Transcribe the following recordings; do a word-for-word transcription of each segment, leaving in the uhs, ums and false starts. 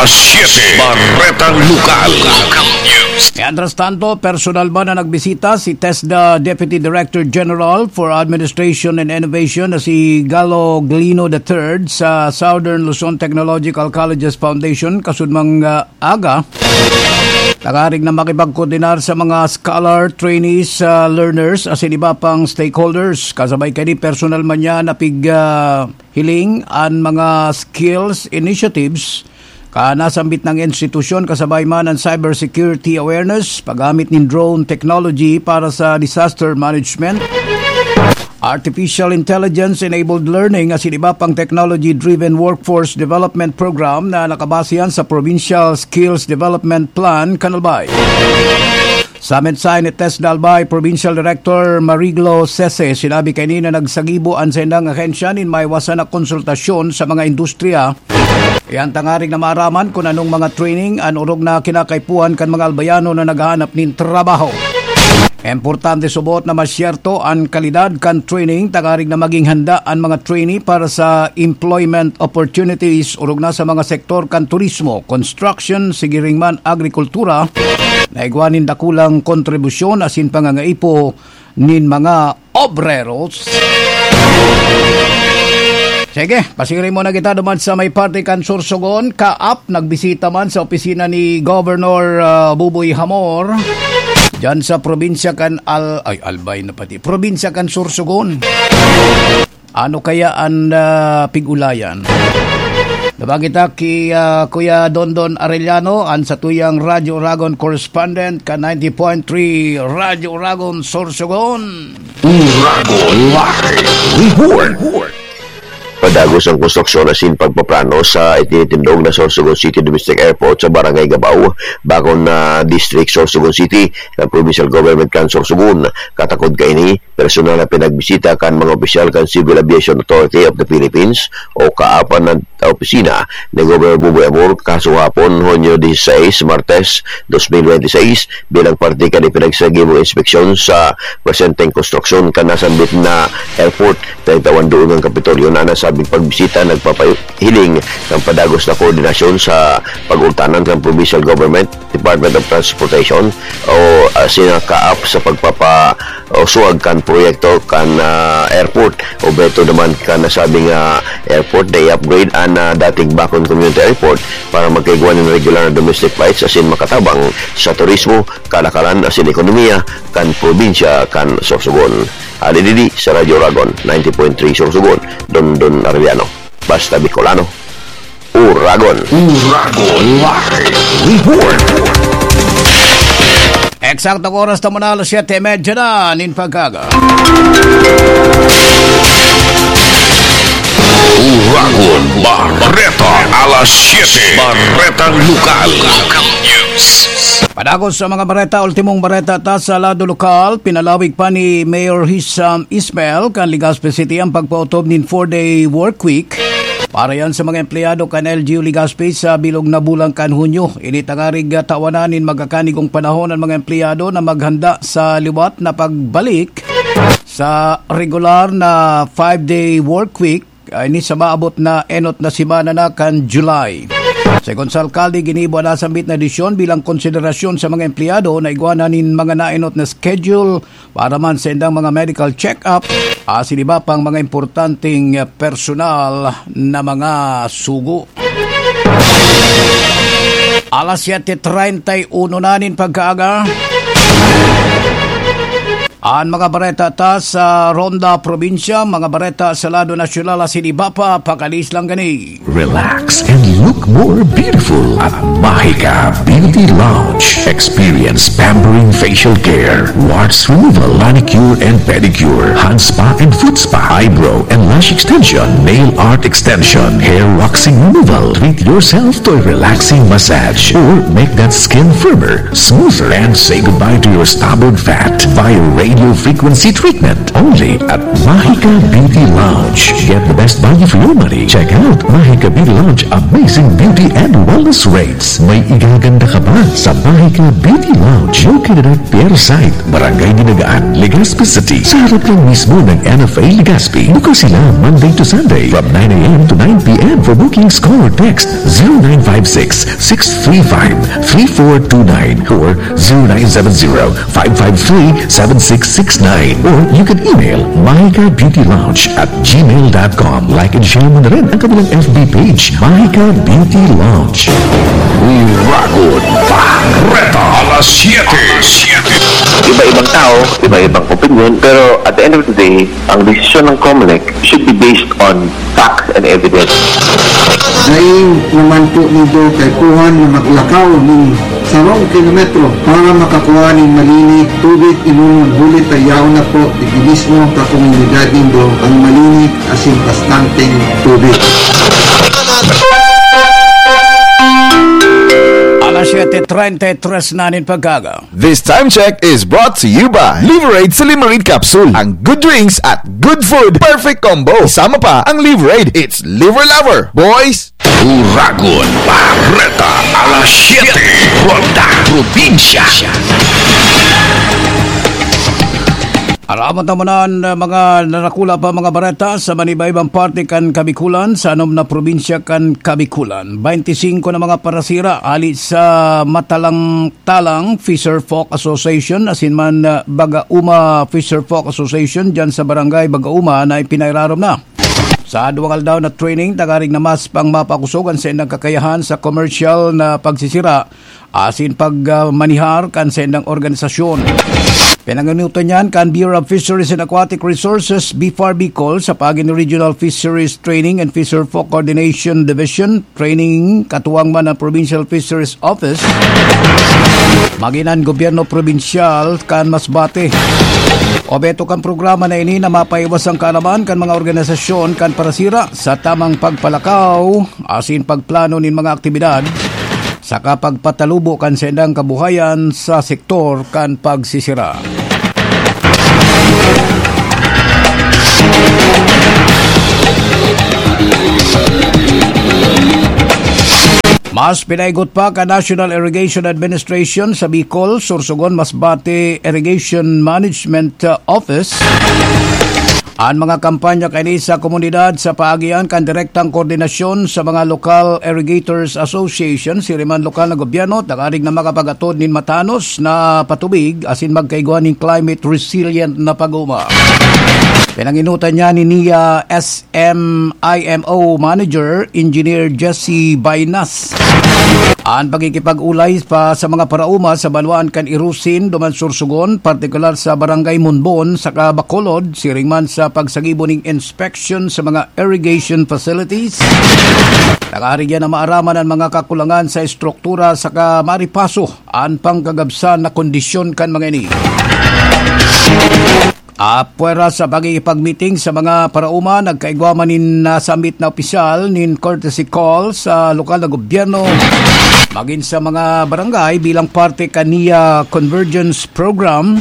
Siete, Baretang Lokal. Mientras tanto, personal man na nagbisita si TESDA Deputy Director General for Administration and Innovation na si Galo Glino the third sa Southern Luzon Technological Colleges Foundation kasudmang ah, aga. Tangarig na makipagkoordinar sa mga scholar, trainees, ah, learners asin iba pang stakeholders. Kasabay kani personal man niya napig ah, hiling an mga skills initiatives ka nasambit ng institusyon, kasabay man ang cybersecurity awareness, paggamit nin drone technology para sa disaster management, artificial intelligence-enabled learning asin iba pang technology-driven workforce development program na nakabase yan sa Provincial Skills Development Plan kan Albay. Sa mensahe ni TESDA Albay Provincial Director Mariglo Sese, sinabi kaini na nagsagibo an saindang ahensya nin maiwasan na konsultasyon sa mga industriya. Iyan tangarig na maaraman kun anong mga training an orog na kinakaipuhan kan mga Albayano na naghahanap nin trabaho. Importante subot na masyerto an kalidad kan training tangarig na maging handa an mga trainee para sa employment opportunities orog na sa mga sektor kan turismo, construction, sigiring man agrikultura, na igwa nin dakulang kontribusyon asin pangangaipo nin mga obreros. Sige, pasiring muna kita duman sa may parte kan Sorsogon. Kaap, nagbisita man sa opisina ni Governor ah, Buboy Hamor diyan sa probinsya kan Al... ay, Albay na pati. Probinsya kan Sorsogon. Ano kaya an ah, pig-ulayan? Nabang kita ki ah, Kuya Dondon Arellano, an satuyang Radyo Oragon correspondent kan ninety point three Radyo Oragon Sorsogon. Uragon Live Report. Padagos ang konstruksyon asin pagpaplano sa itinitindog na Sorsogon City Domestic Airport sa Barangay Gabao, Bakon na District, Sorsogon City, kan Provincial Government kan Sorsogon. Katakod kaini, personal na pinagbisita kan mga opisyal kan Civil Aviation Authority of the Philippines o kaap an opisina ni Governor Buboy Amor kasuhapon, Hunyo dieciséis, Martes, dos mil benti seis, bilang parte kan ipinagsagibong inspeksyon sa presenteng konstruksyon kan nasambit na airport. Taintawan doon ang Kapitolyo na nasabing pagbisita nagpapahiling kan padagos na koordinasyon sa pag-ultanan kan Provincial Government, Department of Transportation o ah, sina kaap sa pagpapa o suwag kan proyekto kan ah, airport. Obheto naman kan nasabing ah, airport na i-upgrade an ah, dating Bakon Community Airport para magkaigwa nin regular na domestic flights asin makatabang sa turismo, kalakalan asin ekonomiya kan probinsya kan Sorsogon. Hali digdi sa Radyo Oragon, ninety point three Sorsogon, Dondon Arellano. Basta Bicolano, Uragon. Uragon Live Report. Eksaktong oras ta muna, alas siyete y media na nin pagkaga. Uragon Bareta, alas siyete. Baretang Lokal. Padagos sa mga bareta, ultimong bareta ta sa lado lokal, pinalawig pa ni Mayor Hisham Ismail kan Legazpi City ang pagpaotob nin four-day work week para yan sa mga empleyado kan L G U Legazpi sa bilog na bulan kan Hunyo. Ini tangarig tawanan nin magakanigong panahon ang mga empleyado na maghanda sa liwat na pagbalik sa regular na five-day work week, ah, ini sa maabot na enot na semana na kan July. Segun sa alkalde, ginibo an nasambit na desisyon bilang konsiderasyon sa mga empleyado na igwa na nin mga naenot na schedule para man sa indang mga medical check-up, asin iba pang mga importanteng personal na mga sugo. Alas siyete treinta y uno na nin pagkaaga. An mga bareta ta sa Ronda Probinsya, mga bareta sa lado nasyonal asin iba pa, pakalis lang gani. Relax and look more beautiful at Mahika Beauty Lounge. Experience pampering facial care, warts removal, manicure and pedicure, hand spa and foot spa, eyebrow and lash extension, nail art extension, hair waxing removal. Treat yourself to a relaxing massage or make that skin firmer, smoother, and say goodbye to your stubborn fat via Low frequency treatment only at Mahika Beauty Lounge. Get the best value for your money. Check out Mahika Beauty Lounge amazing beauty and wellness rates. May igaganda ka ba sa Mahika Beauty Lounge? Located at Pier site, Barangay Dinagaan, Legazpi City, sa harap lang mismo ng N F A Legazpi. Bukas sila Monday to Sunday from nine a m to nine p m. For bookings, call or text zero nine five six, six three five, three four two nine or zero nine seven zero, five five three, seven six six nine. Or you can email mahika beauty lounge at gmail dot com. Like and share mo na rin ang kanilang F B page, Mahika Beauty Lounge. Uragon Bareta, alas siyete. Iba-ibang tao, iba-ibang opinion, pero at the end of the day, ang desisyon ng Comelec should be based on facts and evidence. Dai naman po nindo kaipuhan na maglakaw nin sarong kilometro para makakua nin malinig tubig inunon, huli ta yaon na po digdi mismo sa komunidad nindo ang malinig asin bastanteng tubig. Alas siyete treinta y tres na nin pagkaga. This time check is brought to you by Liverade Silimarin Capsule. Ang good drinks at good food, perfect combo. Isama pa ang Liverade. It's Liver Lover, boys! Uragon Bareta, alas siyete, Ronda Probinsya. Aramon ta muna an, uh, mga narakula pa mga bareta sa manibaibang parte kan Kabikulan, sa anom na probinsya kan Kabikulan. Bainti singko na mga parasira ali sa Matalang-talang Fisher Folk Association asin man, uh, Bagauma Fisher Folk Association diyan sa Barangay Bagauma na ipinairarom na sa duwang aldaw na training, tangarig na mas pang mapakosog an saindang kakayahan sa komersyal na pagsisira asin pag, ah, manihar kan saindang organisasyon. Pinanganutan niyan kan Bureau of Fisheries and Aquatic Resources, BFAR Bicol, sa paagi ni Regional Fisheries Training and Fisher Folk Coordination Division, training katuwang man ang Provincial Fisheries Office, magin an gobyerno probinsyal kan Masbate. Obheto kan programa na ini na mapaiwas ang kaalaman kan mga organisasyon kan parasira sa tamang pagpalakaw asin pagplano nin mga aktibidad saka pagpatalubo kan saindang kabuhayan sa sektor kan pagsisira. Mas pinaigot pa kan National Irrigation Administration sa Bicol, Sorsogon, Masbate Irrigation Management, uh, Office an mga kampanya kaini sa komunidad sa paagian kan direktang koordinasyon sa mga Local Irrigators Association, siring man lokal na gobyerno, tangarig na makapagatod nin matanos na patubig asin magkaigwa nin climate resilient na pag-uma. Pinanginutan niya ni Nia S M I M O Manager, Engineer Jesse Bainas. An pakikipag-ulay pa sa mga paraoma sa banwaan kan Irusin duman Sorsogon, partikular sa Barangay Monbon saka Bacolod, siring man sa pagsagibo ning inspection sa mga irrigation facilities. Tangarig na maaraman an mga kakulangan sa estruktura saka maripaso an pangkagabsan na kondisyon kan mga ini. Apwera sa pakikipagmiting sa mga paraoma, nagkaigwa man nin nasambit na opisyal nin courtesy call sa lokal na gobyerno, magin sa mga barangay bilang parte kan Nia Convergence Program,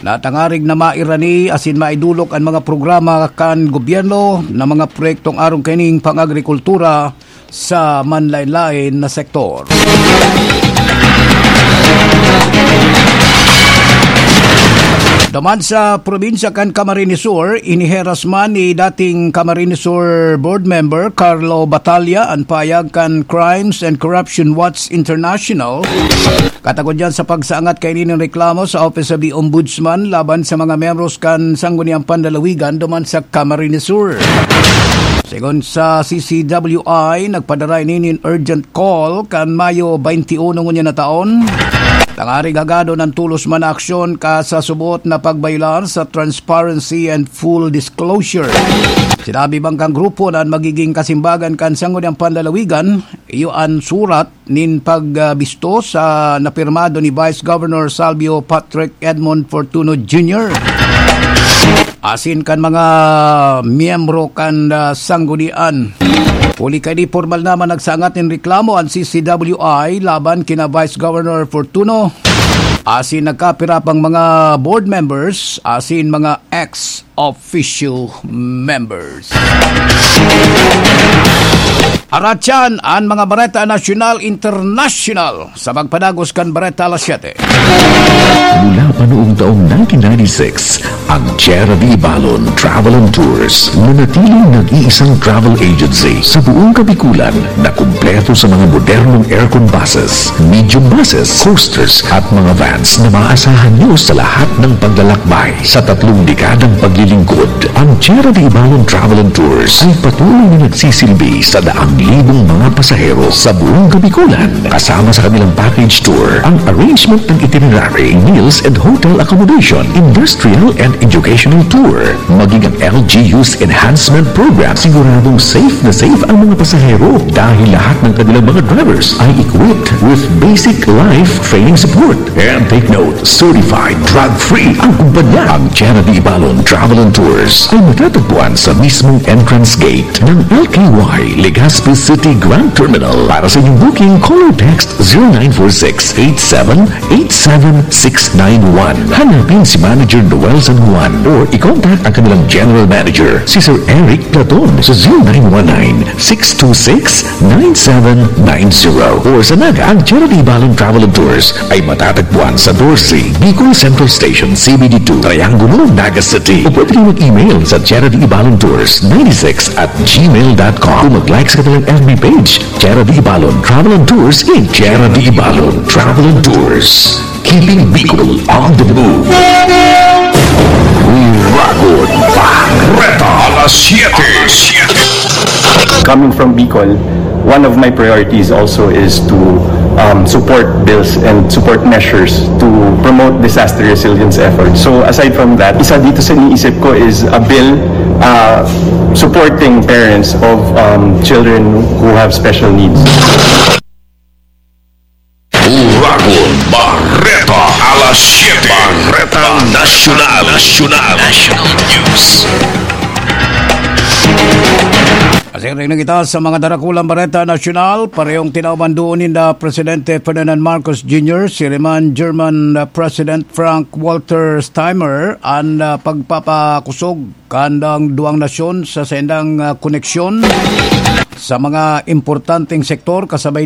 na tangarig na mairani asin maidolok an mga programa kan gobyerno na mga proyektong arog kaining pang-agrikultura sa manlaen-laen na sektor. Duman sa probinsya kan Camarines Sur, iniheras man ni dating Camarines Sur Board Member Carlo Batalla an pahayag kan Crimes and Corruption Watch International, katagod diyan sa pagsaangat kaini nin reklamo sa Office of the Ombudsman laban sa mga miyembros kan Sangguniang Panlalawigan duman sa Camarines Sur. Segun sa C C W I, nagpadara ini nin urgent call kan Mayo twenty-one ngunyan na taon, tangarig hagadon an tolos man na aksyon ka sa subot na pagbayolar sa transparency and full disclosure. Sinabi man kan grupo na an magiging kasimbagan kan Sangguniang Panlalawigan, iyo an surat nin pagbisto sa napirmado ni Vice Governor Salvio Patrick Edmond Fortuno Junior asin kan mga miyembro kan, ah, sanggunian. Huli kaini, pormal naman nagsangat nin reklamo an C C W I laban kina Vice Governor Fortuno asin nagkapira pang mga board members asin mga ex officio members. Aratyan an mga bareta nasyonal, internasyonal sa pagpadagos kan Bareta Alas Siyete. Mula pa noong taong nineteen ninety-six, ang Tierra de Ibalon Travel and Tours nanatiling nag-iisang travel agency sa buong Kabikulan na kumpleto sa mga modernong aircon buses, medium buses, coasters at mga vans na maaasahan nyo sa lahat ng paglalakbay. Sa tatlong dekadang paglilingkod, ang Tierra de Ibalon Travel and Tours ay patuloy na nagsisilbi sa daang libong mga pasahero sa buong Kabikulan, kasama sa kanilang package tour, ang arrangement ng itinerary, meals and hotel accommodation, industrial and educational tour, maging ang L G U's enhancement program. Siguradong safe na safe ang mga pasahero dahil lahat ng kanilang mga drivers ay equipped with basic life training support. And take note, certified drug-free ang kumpanya. Ang Tierra de Ibalon Travel and Tours ay matatagpuan sa mismong entrance gate ng L K Y Legazpi City Grand Terminal. Para sa inyong booking, call or text zero nine four six eight seven eight seven six nine one. Hanapin si Manager Noel San Juan or i-contact ang kanilang General Manager, si Sir Eric Platon, sa zero nine one nine six two six nine seven nine zero. Or sa Naga, ang Tierra de Ibalon Travel and Tours ay matatagpuan sa doce, Bicol Central Station, C B D two, Triangulo, Naga City. O pwede rin mag-email sa Tierra de Ibalon Tours ninety-six at gmail dot com. O mag-like sa kanilang F B page, Tierra de Ibalon Travel and Tours, Inc. Tierra de Ibalon Travel and Tours, keeping Bicol on the move. Uragon Bareta Alas Siyete. Coming from Bicol, one of my priorities also is to, um, support bills and support measures to promote disaster resilience efforts. So aside from that, isa dito sa iniisip ko is a bill, uh, supporting parents of, um, children who have special needs. Uragon Bareta Alas Siyete. Bareta Nasyonal. Nasyonal. National News. Asin rin kita sa mga darakulang bareta nasyonal, parehong tinawan doon ninda Presidente Ferdinand Marcos Junior, si Riman German, uh, President Frank Walter Steinmeier, an, uh, pagpapakosog kandang duwang nasyon sa saindang, uh, koneksyon sa mga importanteng sektor, kasabay